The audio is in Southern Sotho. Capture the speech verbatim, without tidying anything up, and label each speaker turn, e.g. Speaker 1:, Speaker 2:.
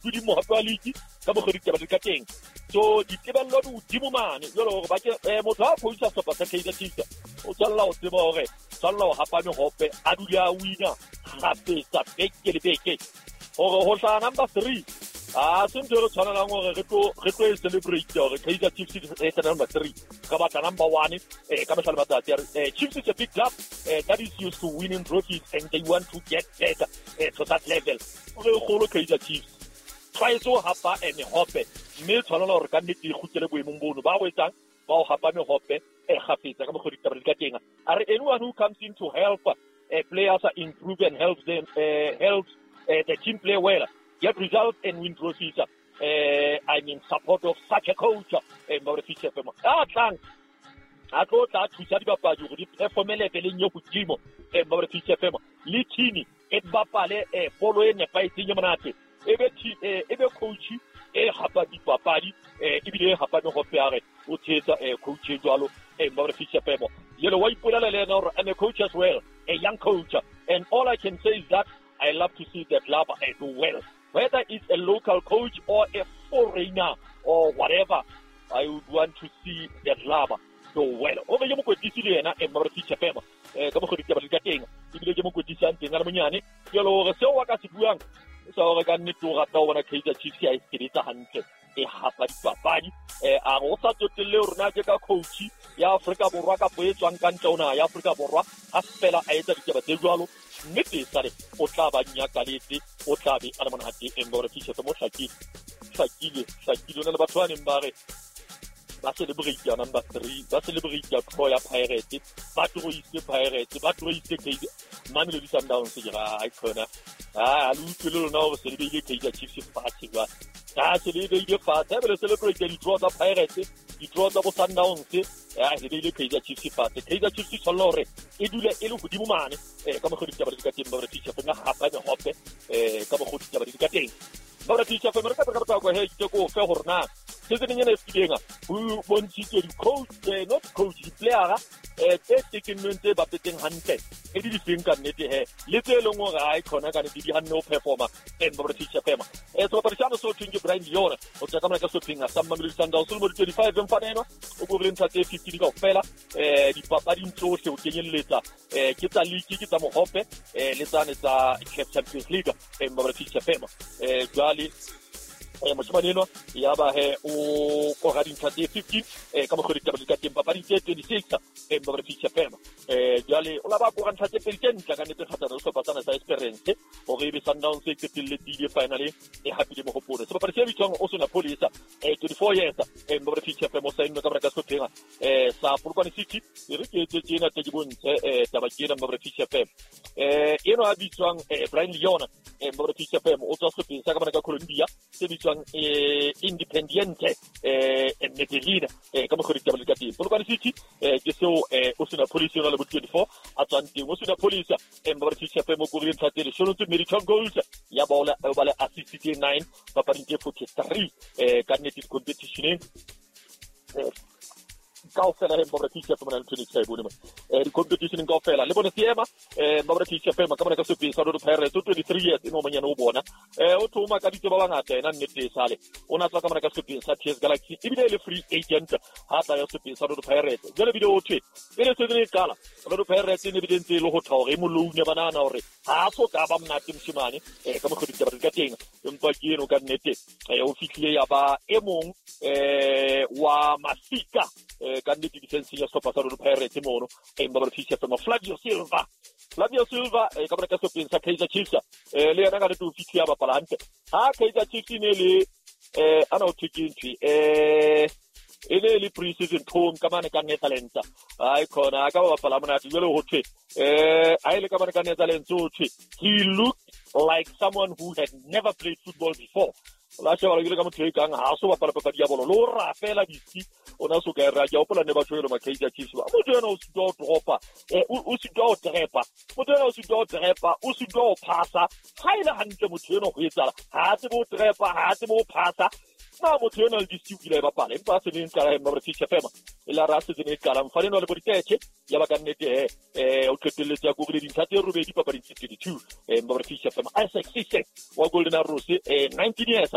Speaker 1: excluding mohape wa league ka mokgwa ditaba di ka teng. So ditebello di hodimo mane jwale hore ba ke motho ha coacha sehlopha sa Kaizer Chiefs o tshwanela ho tseba hore tshwanela ho hapa mehope a dule a wina kgafetsa beke le beke hore ho hlaha number three a se ntho e re tshwanelang hore re tlo re tlo e celebrate hore Kaizer Chiefs e tla number three ka batla number one eh ka mehla le matsatsi a re Chiefs is a big club eh, that is used to winning trophies and they want to get better eh, to that level. Re kgolo Kaizer Chiefs tlwaetse ho hapa mehope mme tshwanela hore ka nnete e kgutlele boemong bono ba o etsang ba o hapa mehope e kgafetsa ka mokgwa ditaba di ka teng. A re anyone who comes in to help uh, players improve and helps them uh, helps uh, the team play well, get results and win trophies. Uh, I'm in support of such a coach. A tlang a tlo tla thusa dibapadi hore di performe leveleng e hodimo le team e bapale bolo e nepahetseng e monate. Ebe ebe coach e hapa dipapadi ebile e hapa mehope a re o tshehetsa coach e jwalo yelo wa ipolela le yena hore I'm a coach as well, a young coach, and all I can say is that I love to see the club do well, whether it's a local coach or a foreigner or whatever. I would want to see the club do well. O be ke mokwetlisi le yena Mmaborefish F M ka mokgwa ditaba di ka teng ebile ke mokwetlisi a ntseng a le monyane jwale hore seo wa ka se buang sa hore ka nnete o rata ho bona Kaizer Chiefs ya e sebetsa hantle e hapa dipapadi a re o sa tsotelle hore na ke ka coach ya Afrika Borwa kapa e tswang ka ntle ho naha ya Afrika Borwa ha fela a etsa ditaba tse jwalo nnete sale o tla ba nyakaletse o tla be a le monate Mmaborefish F M o hlakile hlakile hlakile o na le batho ba neng ba re ba celebrate ya number three ba celebrate ya draw ya Pirates ba troise Pirates ba troise Kaizer Mamelodi Sundowns ke ra ai khona ah le utlwile lona hore se le beile Kaizer Chiefs fatshe jwale ka se le beile fatshe ha be le celebrate di draw tsa Pirates di draw tsa bo Sundowns ah le beile Kaizer Chiefs fatshe. Kaizer Chiefs tshwanela hore e dule e le hodimo mane eh ka mokgwa ditaba di ka teng ba re teacher fena hapa mehope eh ka mokgwa ditaba di ka teng ba re teacher fena re ka re ka he ke ko fe hore na season ena e fetileng ho bontshitswe di-coach not coach di-playera tse tekennweng tse bapetseng hantle e di difeng ka nnete he le tse leng hore ha e khona ka nnete di hanne ho performa Mmaborefish F M. Sebapadi sa so thweng ke Brian Leone o tswa ka mona ka sehlopheng sa Mamelodi Sundowns o lemo di twenty-five mfana enwa o korile ntlha tse fifteen kaofela dipapading tsohle ho kenyelletsa ke tsa league ke tsa mohope le tsane tsa CAF Champions League Mmaborefish F M. Jwale moshemane enwa ya ba he o kora dintlha tse fifteen ka mokgwa ditaba di ka teng papading tse twenty-six Mmaborefish F M. Jwale o la ba kora ntlha tse pedi tse ntle ka nnete kgahlano le sehlopha sena sa Esperance hore ebe Sundowns e qetelletse ile finaleng e hapile mohopolo. Sebapadi se bitswang Osuna Police twenty-four years Mmaborefish F M o saennwe ka mora ka sehlopheng sa Polokwane City e re ke etse tjena tle ke bontshe taba ke ena Mmaborefish F M. Eno a bitswang Brian Leone Mmaborefish F M o tswa sehlopheng sa ka mona ka Colombia se bitswang Independiente Medellin ka mokgwa ditaba di ka teng. Polokwane City ke seo Osuna Police yona le bo twenty-four a tswang teng. Osuna Police Mmaborefish F M o korile ntlha tse leshome tse mmedi twelve goals ya ba o ba le assist tse nine papading tse forty-three ka nnete di-competitioneng kaofela he Mmaborefish F M na le ntho e ke sa e bone mona di-competitioneng kaofela le bone seema Mmaborefish F M ka mona ka sehlopheng sa Orlando Pirates o twenty-three years e no monyane o bona o thoma ka ditse ba bangata yena nnete e sale o na tswa ka mona ka sehlopheng sa T S Galaxy ebile e le free agent ha tla ya sehlopheng sa Orlando Pirates jwale bile o thwe pele season e qala Orlando Pirates e ne bile ntse e le ho tha hore e moloune ba nahana hore ha so ka ba monate moshemane ka mokgwa ditaba di ka teng empa ke eno ka nnete o fihlile ya ba e mong wa masika ka nnete defense ya sehlopha sa Orlando Pirates mono Mmaborefish F M. Flavio Silva Flavio Silva ka mona ka sehlopheng sa Kaizer Chiefs le yena ka nnete o fihlile a bapala hantle ha Kaizer Chiefs e ne le ana o thwe ke ntho e ne le pre-season tour ka mane ka Netherlands ai khona a ka ba bapala monate jwale ho thwe eh a ile ka mane ka Netherlands ho thwe he looked like someone who had never played football before. La sheba le ka motho e kang ha so bapala papadi ya bolo lo ra fela ditsi ona so ka ra ke hopola ne ba tshwere ma Kaizer Chiefs ba motho ena o sitwa ho dropa o sitwa ho trepa motho ena o sitwa ho trepa o sitwa ho phasa ha ile hantle motho ena ho etsala ha tsebe ho trepa ha tsebe ho phasa Na motho ena le disiu kile e bapala empa a se neng qala mma Fish F M e la ra season e qalang mfane le bo ditetshe ya ba ka nnete eh eh o qetelletse ya korile dintlha tse robedi papading tse twenty-two eh mma Fish F M Isaac Sise wa Golden Arrows eh nineteen years